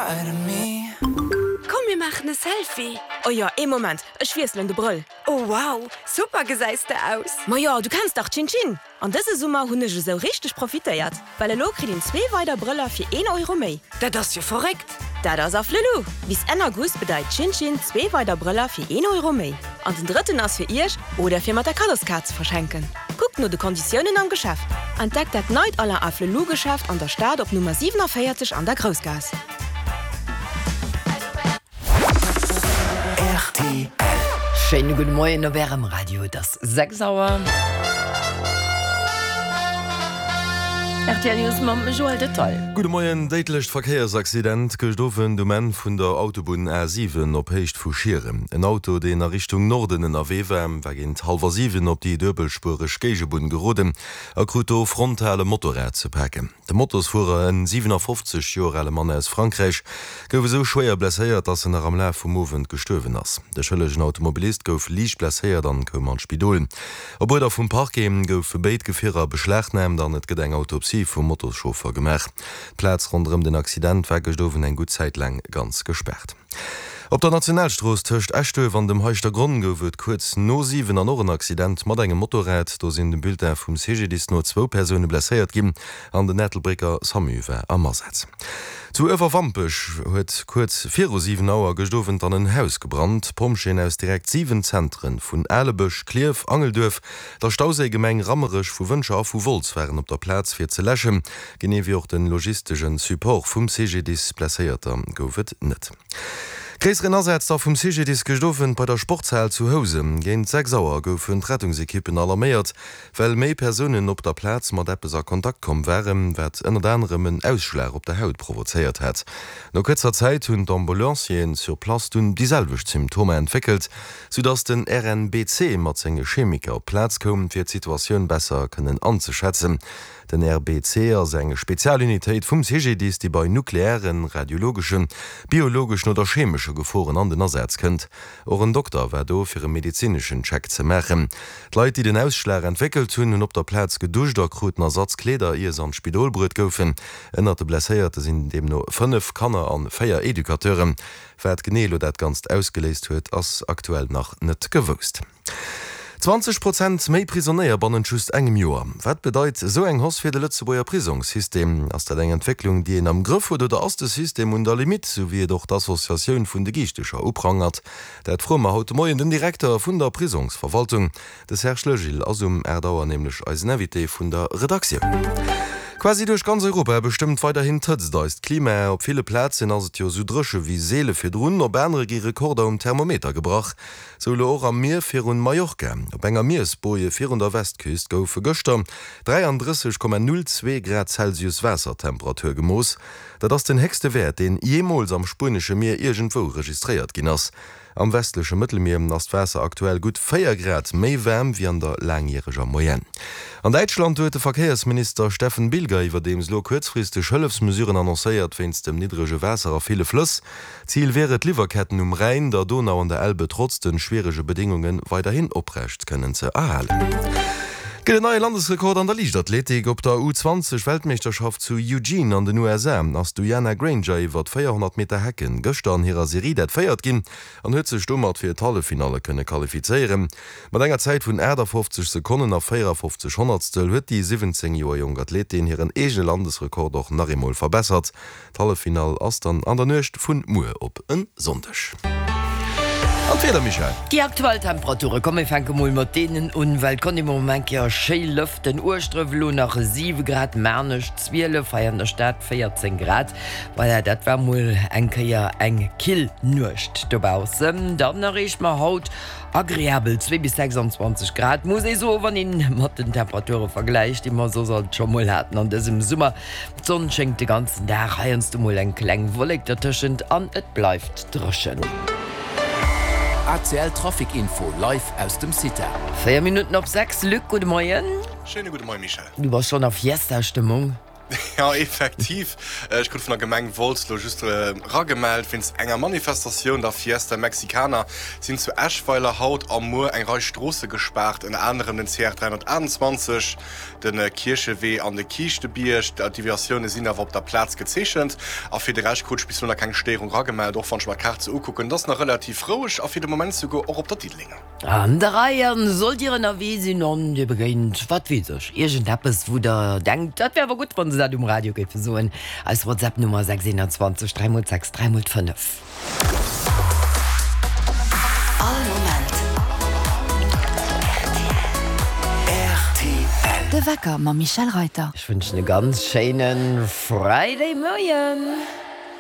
Komm mir maachen e Selfie! Oh jo, ee Moment, ech wiesselen de Brëll. Oh wow, super gesäis de aus! Majo, du kenns dach Chin Chin! An dëse Summer hunn ech esou richteg profitéiert, well elo kritt een zwee weider Brëller fir een Euro méi. Dat ass jo verréckt! Dat ass Afflelou! Bis Enn August bedeit Chin Chin zwee weider Brëller fir een Euro méi. An den drëtten ass fir iech oder fir mat der Kaddoskaart ze verschenken. Kuckt no de Konditiounen am Geschäft. Entdeckt dat neit Alain Afflelou Geschäft an der Stad op Nummer 47 an der Groussgaass. Rtl. Schéine gudde Moien op Ärem Radio. Et ass 6 Auer. Rtl News mam Joël Detail. Gudde Moien. Déidlecht Verkéiersaccident gëscht Owend um Enn vun der Autobunn A7 op Héicht vu Schieren. En Auto, deen a Richtung Norden ënnerwee war, war géint hallwer 7 op déi duebelspuereg Géigebunn geroden a krut do frontal e Motorrad ze paken. De Motosfuerer, en 57 Joer ale Mann aus Frankräich, gouf esou schwéier blesséiert, dass en nach am Laf vum Owend gestuerwen ass. De schëllegen Automobilist gouf liicht blesséiert an koum an d'Spidol. Op Uerder vum Parquet goufe béid Gefierer beschlagnaamt an et gëtt eng Autopsie vum Motoschauffer gemaach. D'Plaz ronderëm den Accident war gëscht Owend eng gutt Zäit laang ganz gespaart. Op der Nationalstrooss tëscht Eschduerf an dem Heischtergronn gouf et kuerz no 7 an och en Accident mat engem Motorrad. Do sinn dem Bulletin vum CGDIS no zwou Persoune blesséiert ginn an den Ettelbrécker Samu war am Asaz. Zu Uewerwampech huet kuerz viru 7 Auer gëscht Owend dann en Haus gebrannt. Pompjeeën aus direkt 7 Zentren vun Alebësch, Klierf, Angelduerf, der Stauséigemeng Rammerech, vu Wëntger a vu Wolz waren op der Plaz fir ze läschen. Genee wéi och de logistesche Support vum CGDIS. Blesséierter gouf et net. Gréisseren Asaz da vum CGDIS gëscht Owend bei der Sportshal zu Housen. Géint 6 Auer goufen d'Rettungsekippen alarméiert, well méi Persounen op der Plaz mat eppes a Kontakt komm waren, wat ënnert anerem en Ausschlag op der Haut provozéiert hat. No kuerzer Zäit hunn d'Ambulancieren sur place dunn déi selwecht Symptomer entwéckelt, soudass den RNBC mat senge Chemiker op d'Plaz koum, fir d'Situatioun besser kënnen anzeschätzen. Den RBC ass eng Spezialunitéit vum CGDIS, déi bei nukleären, radiologeschen, biologeschen oder chemesche Geforen an den Asaz kënnt. Och en Dokter war do, fir e medezineschen Check ze maachen. D'Leit, déi den Ausschlag entwéckelt hunn, hunn op der Plaz geduscht a kruten Ersatzkleeder, ier se an d'Spidol bruet goufen. Ënnert de Blesséierte sinn deemno 5 Kanner an 4 Educateuren. Wat genee elo dat Ganzt ausgeléist huet, ass aktuell nach net gewousst. 20 Prozent méi Prisonéier bannent just engem Joer. Wat bedeit esou eng Hausse fir de Lëtzebuerger Prisongssystem? Ass dat eng Entwécklung, déi een am Grëff huet oder ass de System un der Limitt, sou wéi et och d'Associatioun vun de Giichtecher uprangert? Dat froe mer haut de Moien den Direkter vun der Prisongsverwaltung. De Serge Legil ass um 8 Auer nämlech eisen Invité vun der Redaktioun. Quasi duerch ganz Europa bestëmmt weiderhin d'Hëtzt eist Klima. Op ville Plazen ass et jo esou dréche wéi seele virdrun, op anere gi Rekorder um Thermometer gebrach. Sou elo och am Mier virun Mallorca. Op enger Miersboje virun der Westküst goufe gëschter 33,02 Grad Celsius Waassertemperatur gemooss. Dat ass den héchste Wäert, deen jeemools am spuenesche Mier iergendwou registréiert ginn ass. Am westleche Mëttelmier ass d'Waasser aktuell gutt 4 Grad méi waarm wéi an der laangjäreger Moyenne. An Däitschland huet de Verkéiersminister Steffen Bilger iwwerdeems elo kuerzfristeg Hëllefsmesuren annoncéiert wéinst dem niddrege Waasser a ville Flëss. Zil wier et, d'Liwwerketten um Rhäin, der Donau an der Elbe trotz de schwierege Bedéngunge weiderhin oprecht kënnen ze erhalen. Gëtt en neie Landesrekord an der Liichtathletik. Op der U20 Weltmeeschterschaft zu Eugene an den USA ass d'Uyana Granger iwwer 400 Meter Hecken gëschter an hirer Serie dat véiert ginn an huet sech domat fir d'Halleffinalle kënne qualifizéieren. Mat enger Zäit vun 58 Sekonnen a 54 Honnertstel huet déi 17 Joer jonk Athletin hiren eegene Landesrekord och nach eemol verbessert. D'Halleffinall ass dann an der Nuecht vun muer op en Sonndeg. An d'Wieder, Michèle? Déi aktuell Temperature, komm mir fänke mol mat deenen un, well konnt ee mol eng Kéier schéi lëften. Ueschdref elo nach 7 Grad, Maarnech 12, hei an der Stad 14 Grad. Voilà, dat war mol eng Kéier eng kill Nuecht dobaussen. Dann erreeche mer haut agreabel 2 bis 26 Grad, muss ee soen, wann een mat den Temperature vergläicht, déi mer soss alt scho mol haten an dësem Summer. D'Sonn schéngt de ganzen Dag, heiansdo mol eng kleng Wollek dertëschent an et bleift dréchen. ACL Trafic Info live aus dem CITA. 4 Minutten op 6, Luc, gudde Moien. Schéine gudde Moien, Michèle. Du bass schonn a Fiesta-Stëmmung? Jo, effektiv. Ech krut vun der Gemeng Wolz lo just eragemellt, Wéinst enger Manifestatioun, der Fiesta Mexicana, sinn zu Eschweiler haut a muer eng Rei Stroosse gespaart, ënner anerem den CR 328, de Kierchewee an de Kiischtebierg. D'Deviatioune sinn awer op der Plaz gezeechent. A fir de Rescht krut ech bis elo nach keng Stéierung eragemellt, och wann ech mer d'Kaart sou ukucken. Et ass nach relativ roueg a fir de Moment souguer och op der Diddelenger. An der Rei an sollt Dir ënnerwee sinn an Dir begéint, wat weess ech, iergendeppes, wou Der denkt, dat wär awer gutt, wann se dat um Radio géife soen, eis WhatsApp-Nummer 6 21 3 mol 6 3 mol 5. All Moment rtl. De Wecker mam Michèle Reyter. Ech wënschen e ganz schéine Friday Moien.